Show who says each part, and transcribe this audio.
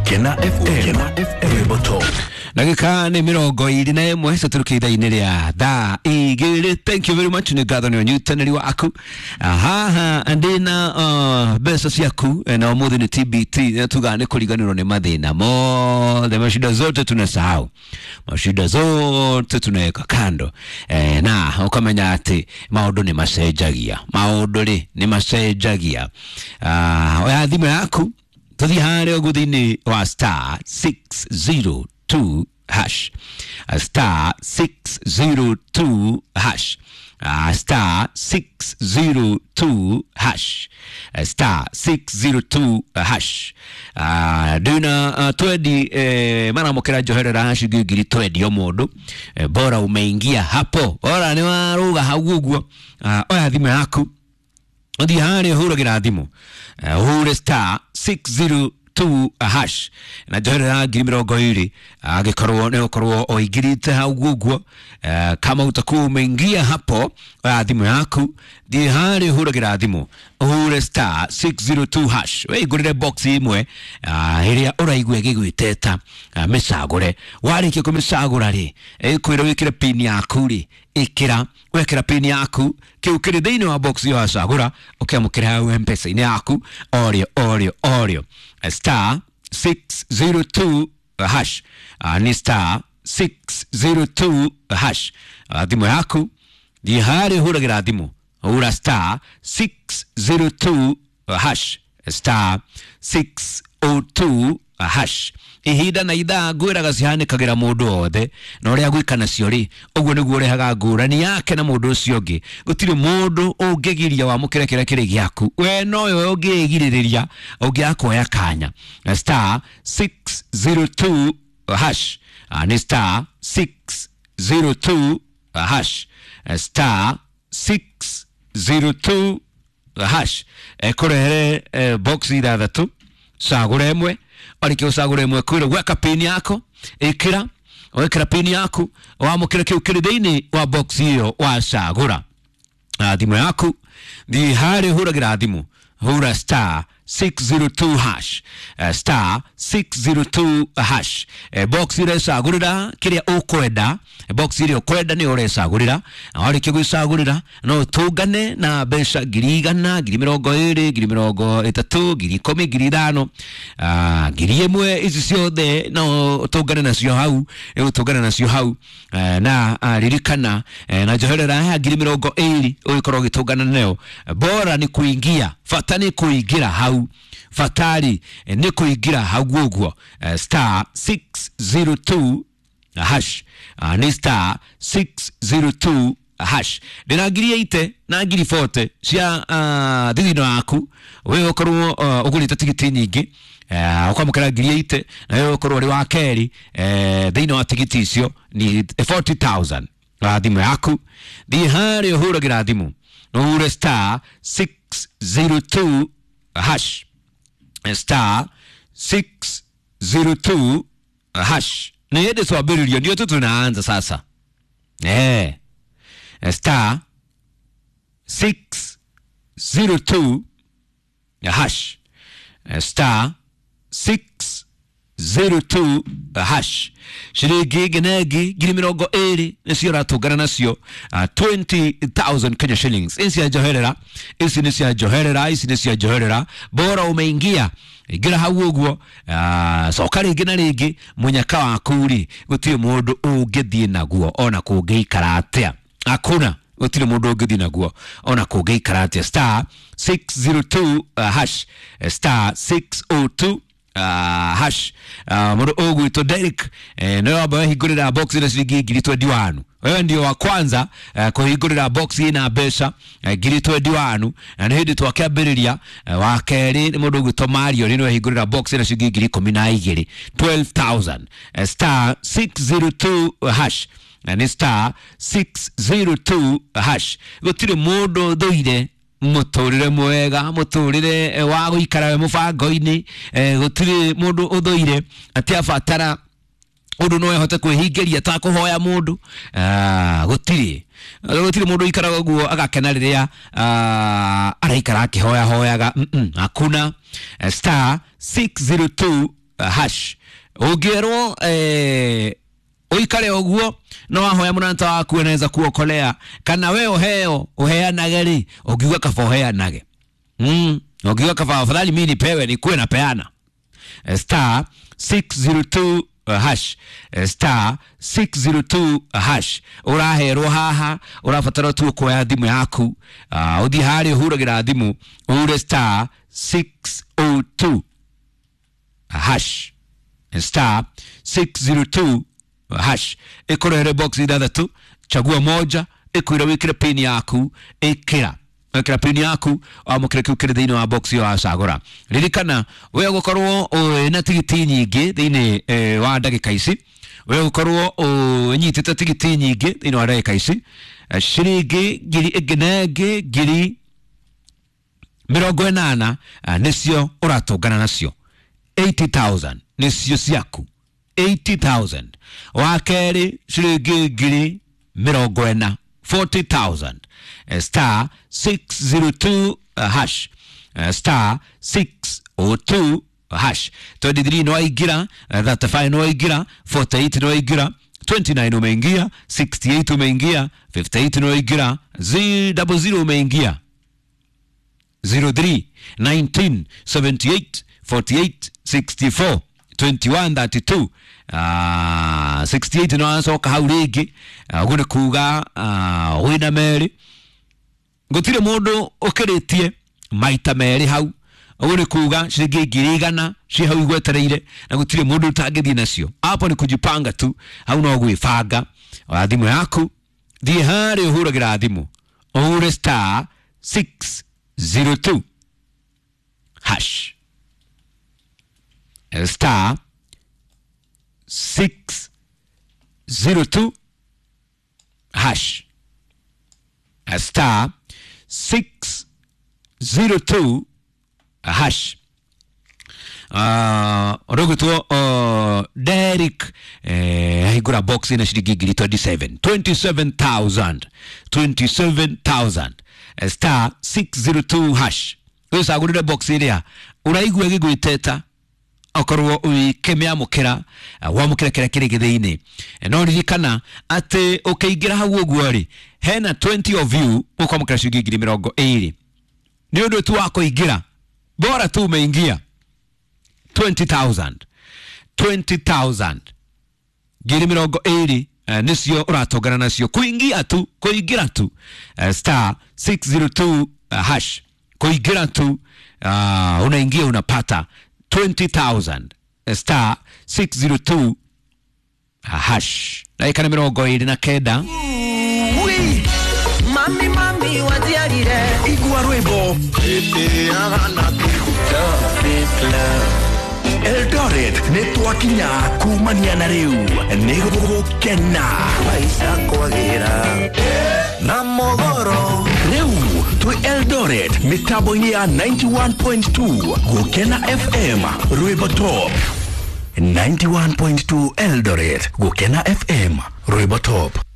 Speaker 1: Gũkena FM Rwĩmbo Top.
Speaker 2: Ndagĩka nĩ 21 citũrũkĩ ithaa-inĩ rĩa thaa 2. Thank you very much, nĩ ngatho nĩ ũnyitanĩri waku. Haha ndĩna mbeca ciaku, na ũmũthĩ nĩ TBT na tugaga nĩ kũriganĩrwo nĩ mathĩna mothe, mashida zote tunasahau, mashida zote tunaweka kando, na ũkamenya atĩ maũndũ nĩ macenjagia, maũndũ rĩ nĩ macenjagia. Oya thimũ yaku, tũthiĩ harĩa ũguo thĩinĩ wa star 602 hash, star 602 hash, star 602 hash, star 602 hash. Ndĩna twendi, maramũkĩra njoherera ciringi 20,000 o mũndũ, bora umeingia hapo, bora nĩ warũga hau ũguo. Oya thimũ yaku, ũthiĩ harĩa ũhũragĩra thimũ, ũhũre star 602 hash na njoherera 20,000 angĩkorwo nĩ ũkorwo ũingirite hau ũguo. Kama utakuwa umeingia hapo, oya thimũ yaku, thiĩ harĩa ũhũragĩra thimũ, ũhũre star 602 hash, wĩingũrĩre box ĩmwe ĩrĩa ũraigua ĩgĩgwĩteta, mĩcagũre. Warĩkia kũmĩcagũra rĩ, ĩkwĩra wĩkĩre pin yaku rĩ, ĩkĩra. Wekĩra pin yaku, kĩu kĩrĩ thĩinĩ wa box ĩyo wacagũra ũkĩamũkĩra hau M-Pesa-inĩ yaku orĩo orĩo orĩo. Star 602 hash, nĩ star 602 hash. Thimũ yaku, thiĩ harĩa ũhũragĩra thimũ, hũra star 602 hash, star 602 hash. Ihinda na ithaa ngwĩraga cihanĩkagĩra mũndũ wothe, na ũrĩa gwĩka nacio rĩ, ũguo nĩguo ũrehaga ngũrani yake na mũndũ ũcio ũngĩ. Gũtirĩ mũndũ ũngĩgiria wamũkĩre kĩrĩa kĩrĩ gĩaku, we nowe ũngĩgirĩrĩria ũngĩaga kuoya kanya. Star 602 hash, nĩ star 602 hash, star 602 hash. Ĩkũrehere box ithathatũ, cagũra ĩmwe. Warĩkia gũcagũra ĩmwe, kwĩra gweka pin yako, ĩkĩra. Wekĩra pin yaku, wamũkĩra kĩu kĩrĩ thĩinĩ wa box ĩyo wacagũra. Thimũ yaku, thiĩ harĩa ũhũragĩra thimũ, hũra star 602 hash, star 602 hash. Box ũrecagũrĩra kĩrĩa ũkwenda, box ĩrĩa ũkwenda nĩyo ũrecagũrĩra, na warĩkia gwĩcagũrĩra no ũtũngane na mbeca 100,000, 20,000, 30,000, 10,000, 5,000, 1,000, ici ciothe no ũtũngane nacio hau, ũtũngane nacio hau. Na ririkana, na njoherera ya 20,000 ũgĩkorwo ũgĩtũngana nayo. Bora nĩ kuingia, bata nĩ kũingĩra hau, batari nĩ kũingĩra hau ũguo. Star 602 hash, nĩ star 602 hash. Ndĩna 80,000 na 40,000 cia thithino yaku. We ũkorwo ũgũrĩte tigiti nyingĩ, ũkamũkĩra 80,000, na we ũkorwo ũrĩ wa kerĩ thĩinĩ wa tigiti icio ni 40,000. Thimũ yaku, thiĩ harĩa ũhũragĩra thimũ, ũhure star 602 hash, star 602 hash. Nĩ hĩndĩ twambĩrĩrio, ndio tu tunaanza sasa. Star 602 hash, star 602 hash. Ciringi ĩngĩ na ĩngĩ 20,000 nĩcio ũratũngana nacio, 20,000 Kenya shillings. Ici cia njoherera, ici nĩ cia njoherera, ici nĩ cia njoherera. Bora umeingia, ingĩra hau ũguo, coka rĩngĩ na rĩngĩ. Mũnyaka waku rĩ, gũtirĩ mũndũ ũngĩthiĩ naguo ona kũngĩikara atĩa. Hakuna, gũtirĩ mũndũ ũngĩthiĩ naguo ona kũngĩikara atĩa. Star 602 hash, star 602 hash. Mũndũ ũgwĩtwo Derek, nĩwe wamba wehingũrĩra box na ciringi 21,000. Wewe ndio wa kwanza kũhingũrĩra box ĩna mbeca 21,000, na nĩ hĩndĩ twakĩambĩrĩria. Wa kerĩ nĩ mũndũ ũgwĩtwo Mario, nĩwe wehingũrĩra box na ciringi 12,000, 12,000. Star 602 hash, na nĩ star 602 hash. Gũtirĩ mũndũ thũire mũtũrĩre mwega, mũtũrĩre wa gũikara we mũbango-inĩ. Gũtirĩ mũndũ ũthũire atĩ abatara ũndũ no ahote kwĩhingĩria ta kũhoya mũndũ. Gũtirĩ mũndũ ũikaraga ũguo agakena rĩrĩa araikara akĩhoya hoyaga. Hakuna. Star 602 hash. Ũngĩerwo uikare ũguo no wahoya mũrata waku anaweza kuokolea, kana we ũheo ũheanage rĩ, ũngiuga kaba ũheanage. Ũngiuga kaba afadhali mimi nipewe nikuwe napeana. Star 602 hash, star 602 hash. Ũraherwo haha, ũrabatara tu kuoya thimũ yaku, ũthiĩ harĩa ũhuragĩra thimũ, ũhure star 602 hash, star 602 hash. Ĩkũrehere box ithathatũ, chagua moja, ĩkwĩra wĩkĩre pin yaku, ĩkĩra ĩkĩra pin yaku, wamũkĩre kĩu kĩrĩ thĩinĩ wa box ĩyo wacagũra. Ririkana we ũgũkorwo wĩna tigiti nyingĩ thĩinĩ wa ndagĩka ici, we ũgũkorwo ũnyitĩte tigiti nyingĩ thĩinĩ wa ndagĩka ici, ciringi ngiri ĩngĩ na ĩngĩ ngiri mĩrongo ĩnana nĩcio ũratũngana nacio, 80,000 nĩcio ciaku, 80,000. Wa kerĩ ciringi ngiri mĩrongo ĩna, 40,000. Star 602 hash, star 602 hash. 23 no waingĩra, 35 no waingĩra, 48 no waingĩra, 29 umeingia, 68 umeingia, 58 no waingĩra, 00 umeingia, 03 19 78 48 64 21 32 68 no acoka hau rĩngĩ. Ũguo nĩ kuga wĩna merĩ, gũtirĩ mũndũ ũkĩrĩtie maita merĩ hau. Ũguo nĩ kuga ciringi ngiri igana ciĩ hau igwetereire, na gũtirĩ mũndũ ũtangĩthiĩ nacio. Hapo ni kujipanga tu, hau no gwĩbanga. Oya thimũ yaku, thiĩ harĩa ũhuragĩra thimũ, ũhure star 602 hash, star 602 hash, star 602 hash. Ũrũgũtwo Derek ahingũra box ina ciringi ngiri 27, 27,000, 27,000, star 602 hash. Ũcagũrĩre box ĩrĩa ũraigua ĩgĩgwĩteta, okorwo ũkĩmĩamũkĩra, wamũkĩra kĩrĩa kĩrĩ gĩthĩinĩ. No ririkana atĩ ũkĩingĩra hau ũguo rĩ, hena 20 of you ũkwamũkĩra ciringi ngiri mĩrongo ĩrĩ nĩ ũndũ tu wa kũingĩra, bora tu umeingia. 20,000, 20,000, ngiri mĩrongo ĩrĩ nĩcio ũratongana nacio kũingia tu, kũingĩra tu, star 602 hash, kũingĩra tu, unaingia unapata 20,000, star 602 hash. Ndagĩka nĩ mĩrongo ĩrĩ na kenda.
Speaker 3: Mami, mami, wajiarire.
Speaker 1: Igua rwĩmbo Eldoret nĩ twakinya kumania na rĩu nĩ gũgũkena
Speaker 3: Maisha kwagĩra na mogoro.
Speaker 1: Rĩu twĩ Eldoret mĩtambo-inĩ ya 91.2 Gũkena FM rwĩmbo top. 91.2 Eldoret Gũkena FM rwĩmbo top.